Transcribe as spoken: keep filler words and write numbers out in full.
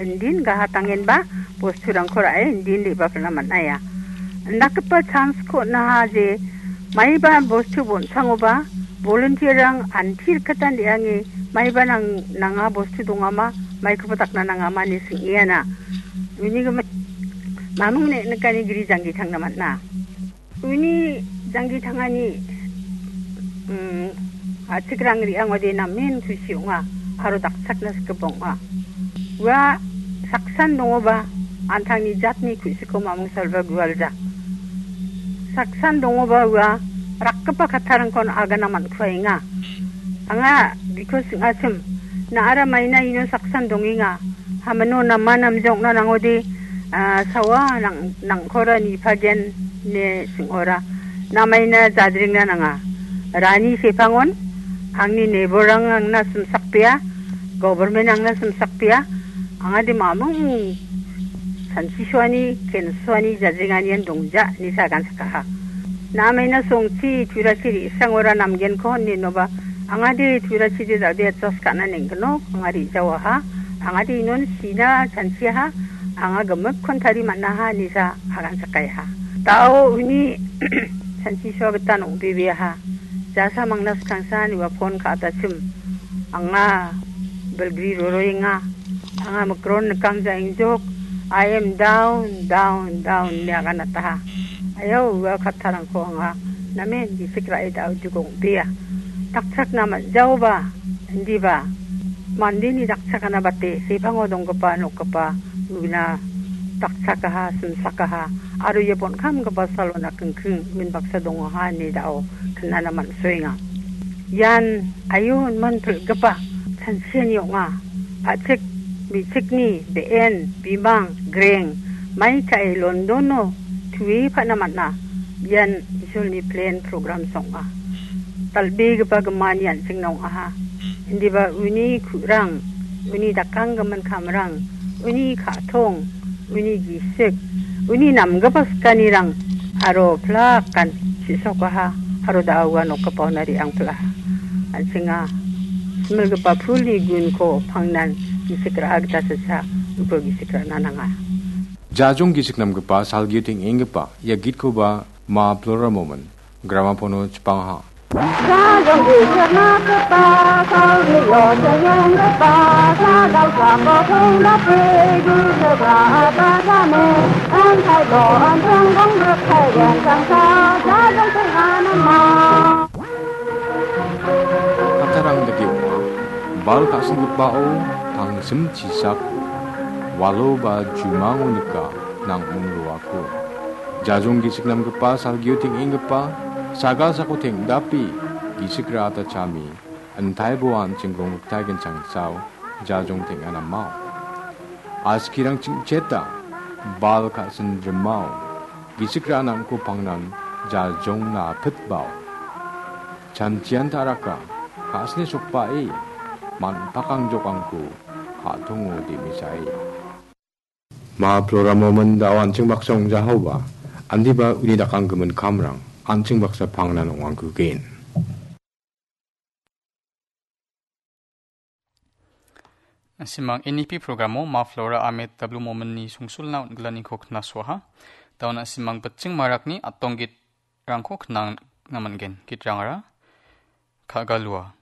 Indin gahatangenba bosturangko ra·e indin re·bapilna man·aia. Indakgipa chance-ko on·aha je maiba bostu bonsangoba volunteer-rang anti rikgitan re·ange maiba nang-, nanga bostu dongama, maikoba dakna nangama ine sing·eana. Uni gimik mamung ne·nikani gri janggi tangna man·a. Uni janggi tangani, mm, a·chikrang re·angode namen kusi ong·a aro dakchakna sikgipa ong·a. Ua saksan dongoba an·tangni jatni ku·siko mamung salba gualja. Saksan dongoba ua rakgipa kattarangkon agana man·kuaenga. Anga biko sing·achim, na·ara maina ino saksan dongenga. Hamano nama namjokna nangode, ah, sawa nang-, nangkora nipagen ine sing·ora. Namaina jadringna nanga. Rani sepangon, angni neighbor-rang angna simsakpia, government angna simsakpia, angade mamung sanchisuani, kensuani jadringanian dongja, ine sagan sakaha. Namaina songchi, turachi re·sangora namgenko, ninoba, angade turachide dal·bea adjust ka·na neng·gnok, anga re·jawaha, angade inon sina chanchiaha, anga gimikkon tari man·aha, nisa agan sakaiha. Dao uni chanchisuagitan ong·bebeaha. Jasa mangna skangsan ua phone ka·atachim, anga bilgri roroenga, anga mikron nikangja engjok, I am down, down, down, ine aganataha. Ayau ua kattarangko anga namen gisik ra·e da·o dugong bea. Dakchakna man·jaoba, indiba, mandeni dakchakana bate, sepango donggipa, nokgipa, una dakchakaha, simsakaha, aro ia bonkamgipa salona kingking, unbaksa dongaha, ine da·o, knana man·soenga. Ian ayon man pil·gipa chanchiani ong·a. A·chik me·chikni be·en, bimang, greng, mai ka·e Londono tue pa·na man·a. Ian Isolni plan program ong·a. Dal·begipa gimani an·chingna ong·aha. Indiba uni ku·rang, uni dakanggimin kamrang, uni ka·tong, uni gisik, uni namgipa sikanirang aro plakan chisokaha aro da·a ua nokgipaona re·angpilaha. An·chinga similgipa pulni gunko pangnan gisik ra·a gita sesa uko gisik ra·na nanga. Jajong gisik namgipa salgio teng·enggipa ia gitkoba Ma Flora Momin gramapono chipangaha. Jajong gisik namgipa salgio teng·enggipa sagal sako teng·dake gisik ra·a gita sesa uko gisik ra·na nanga. An·tangko an·tangko rikaigen changsa jajong teng·anama. Kattarang dake ong·a. Bal ka·singgipao tangsim chisako, walo ba jumango nika nang·ming roako. Jajong gisik namgipa salgio teng·enggipa sagal sako teng·dape gisik ra·ata chami. An·taibo an·ching rongrikta genchangsao jajong teng·anamao. Askirang ching·cheta bal ka·sin rimao gisik ra·nangko pangnan jajongna apitbao. Chanchian ta·raka ka·sini sokbae man·pakangjokangko ka·tongo demisae. Ma Flora Momin da·o an·ching baksa ong·jahaoba, andiba uni dakanggimin kamrang an·ching baksa pangnan ong·angkugen. Simang N E P programo Ma Flora Ahmed W Mominni songsulna on·gilaniko knasoaha. Da·on simang Bitching Marakni atong gitrangko knangna man·gen. Gitrangara Kagalua.